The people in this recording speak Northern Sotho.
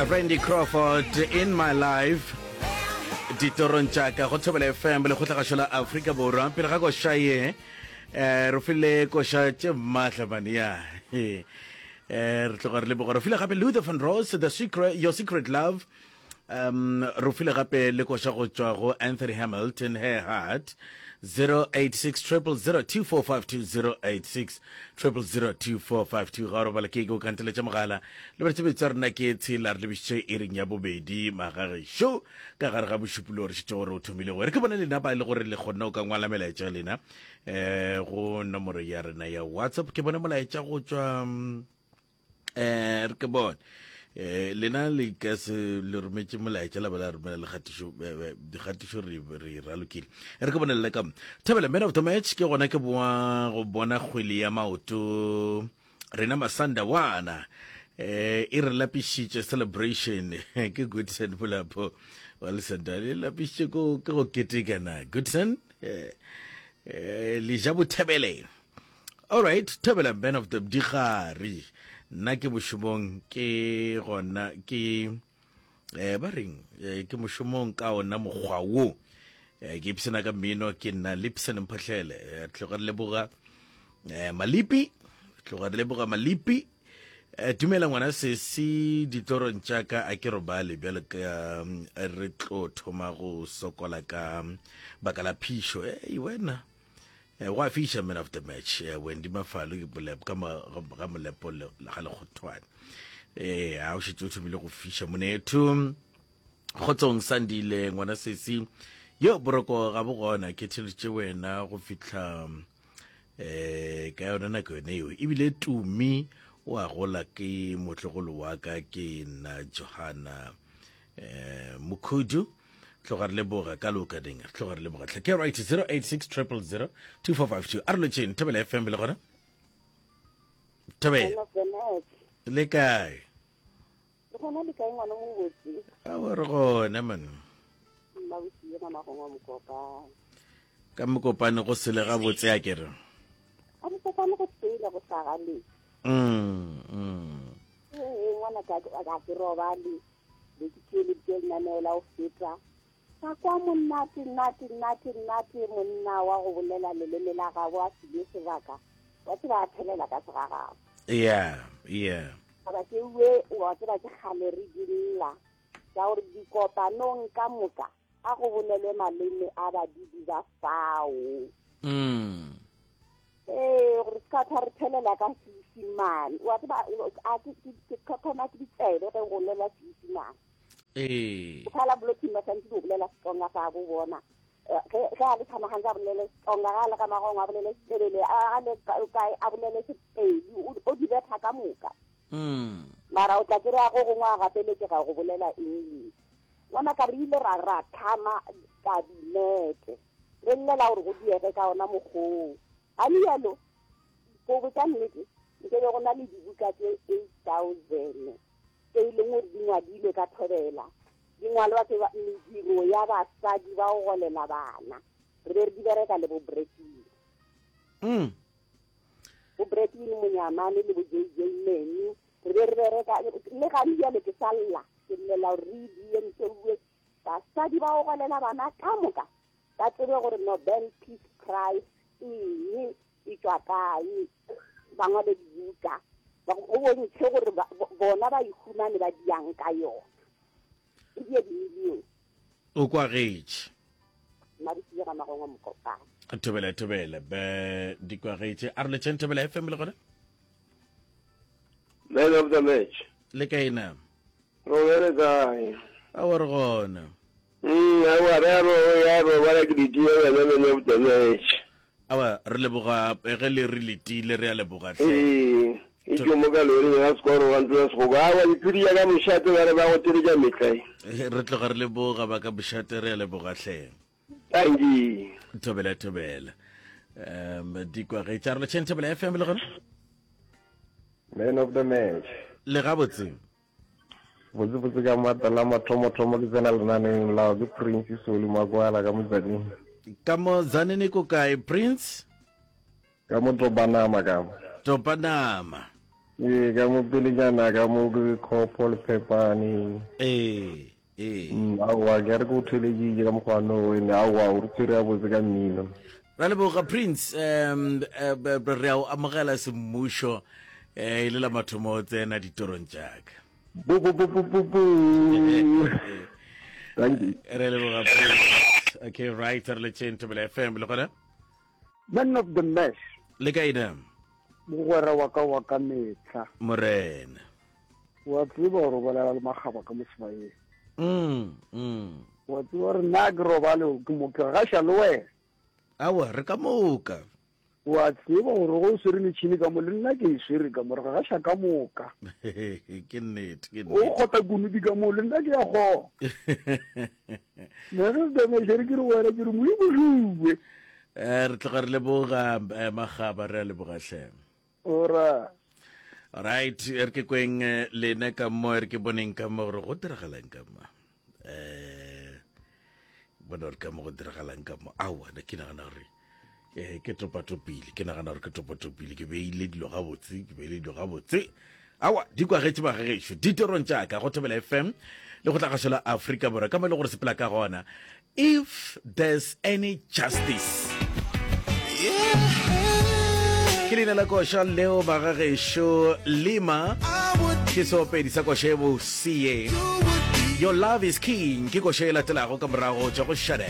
Randy Crawford in my life ditorong tša ka go Thobela FM lekgotlagašo la Afrika Borwa pele ga koša ye eh re file koša tše maatla mane ya eh re tloga re leboga re file gape Luther van Ross the secret your secret love Um, re file gape le koša go tšwa go Anthony Hamilton, Her Heart, 086 0002452 086 0002452. Ga o robala ke ke o kanteletša mogala. Le bare tshebetso ya rena ke tshela re lebišitše iring ya bobedi magagešo ka gare ga bošupulo re šetše gore o thomile go re ke bone lena ba e le gore le kgonne o ka ngwala melaetša ya lena eh go nomoro ya rena ya WhatsApp ke bone molaetša go tšwa mm, eh re ke bone eh lena le ka se le rometše molaetša la ba la romela lekgatišo eh, eh, dikgatišo re re ralokile re ke bone le ka thabela man of the match ke gona ke boa go bona kgwele ya maoto rena masandawana eh e re lapišitše celebration ke goodson bolapo wa lesenda le lapišitše ko ke go keteka na goodson eh eh le ja bothebele All right, Thobela man of the digare. Nna ke mošomong ke gona ke eh ba reng eh, ke mošomong ka ona mokgwa wo. Eh, ke ipsena ka mmino ke nna Lipson Mphahlele. Eh, tloga re leboga eh, Malipi, tloga re leboga Malipi. Eh, dumela ngwana sesi ditorong tša ka a ke robale bjalo ka mm, re tlo thoma go sokola ka baka la phišo. Ei wena Eh, go a fiša man of the match eh, wendy mafalo ke molepo ka ga molepo ga lekgothwane ee a o šetše o thomile go fiša monetho kgotsong sandile ngwana sesi yo boroko ga bo gona ke theletše wena go fihla um ka yona nako yone eo ebile tumi o a gola ke motlogolo wa ka ke nna johana um mokhudu tloga re leboga ka loka ding re tloga re leboga tlhe ke right 086 000 2452 a re lotšheng thobela fm le gona thobela le kae le gona le kae ngwana mobotse awa re gona man mmabosie mamagong wa mokopane ka mokopane go sele gabotse a kere a mokopane go sele go sagale mm, mm. ee ngwana ka ke robale be ke theeleditše lenaneo la go feta ka kwa monate nate nate nate monna wa go bolela leleme la gabo a filwe sebaka wa tseba a thelela ka segagabo yeah yeah taba tšeue wa tseba ke kgale re di lla ka gore dikopanong ka moka a go bolelwe maleme a badudi ba fao mm. Ee, gore se ka tla re thelela ka Seisimane. Wa tseba, a ke ke thoma ke ditsebe ge go bolela Seisimane. Ee. O phala blocking ba santse go bolela Setsonga sa bo bona. Eh, ge ge a le Thamagantse a bolele Setsonga, ge a le ga Magongwa a bolele Setebele, a le kae a bolele Sepedi, o di betha ka moka. Mm. Mara o tla kry-a go gongwe a gapeletšega go bolela English. Ngwana ka re ile ra ra tlhama kabinete. Re llela gore go diege ka ona mokgwa oo. Ga rialo, go botša nnete, nke be go na le dibuka tše 8000 tše e leng gore di ngwadilwe ka thobela, di ngwalwa ke mediro ya basadi ba go golela bana. Re be re di bereka le bo Bretwin. Mm. Bo Bretwin Monyamane le bo JJ Menu, re be re bereka le gane bjale ke sa lla, ke llela gore re e die ntšeuwe Basadi ba go golela bana ka moka ba tsebe gore Nobel Peace Prize eng, e tšwa kae, ba ngwale dibuka go bontšhe gore bona ba ihumane ba diang ka yona. E die dimilione. O kwagetše. Mabitsi ga magongwa mokopane. Thobela thobela be di kwagetše. A re letšeng Thobela FM le gona? Man of the match. Le kae na? Robele kae? Aowa re gona. Mm, aowa re a ro ya robala ke ditile wena man of the match. Aowa re leboga ge le re letile re a leboga hle. Ee, e tšo mo ka loring ga sekoro wa ntlo ya segogo. Aowa diphedi ya ka mošate ba re ba go teletša metlae. Re tloga re leboga ba ka mošate re a leboga hle. Tanki. Thobela thobela. Um dikwagetša re letšheng Thobela FM le gona? Man of the match. Le gabotse. Botsebotse ka maatla la mathomothomo ke tsena lenaneng la ke Prince Soli Makwala ka Motsaneng. Ka mo Tzaneen ko kae Prince? Ka mo Topanama ka mo. Topanama. Ee, ka mo pelenyana ka mo ke khopo le phepane. Ee, ee. Mm, aowa, ke re ke o theleditše ka mokgwa no ene aowa o re tshwere gabotse ka mmino. Ra leboga Prince, um re a o amogela semmušo eh, e le la mathomo o tsena ditorong tšaka. Bu bu bu bu bu bu. Thank you. Re leboga Prince. Okay, right, re le tšeng Thobela FM le gona. Man of the match. Le kae na? Mogwera wa ka wa ka mehla. Morena. Wa tseba gore o bolela le makgaba ka mo sebayeng. Mm, mm. Wa tseba gore nna ke robale ke mo ke gaša le wena. Awa, re ka moka. Wa tseba gore go swere metšhini ka mo le nna ke e swere ka mo re gaša ka moka. Ke nnete, ke O nnete. kgotha kunupi ka mo le nna ke ya kgona. Man of the match re ke re wena ke re Modimo šuwe. Eh, re tloga re leboga eh, magaba re a leboga hle. Ora. Right, re ke kweng eh, lena ka mo re ke boneng ka mo gore go diragalang ka mo. Eh bona gore ka mo go diragalang ka mo. Aowa, ne ke nagana gore eh ke topatopile, ke nagana gore ke topatopile, ke beile dilo gabotse, ke beile dilo gabotse. Aowa, di kwagetše bagagešo ditorong tša ka go Thobela FM le go tlagašo la Afrika Borwa ka mo e le gore sepela ka gona. If there's any justice. Ke leina la koša leo bagagešo Lima ke seopedi sa koša e bosie. Your love is king ke koša e latelago ka morago tša go Shade.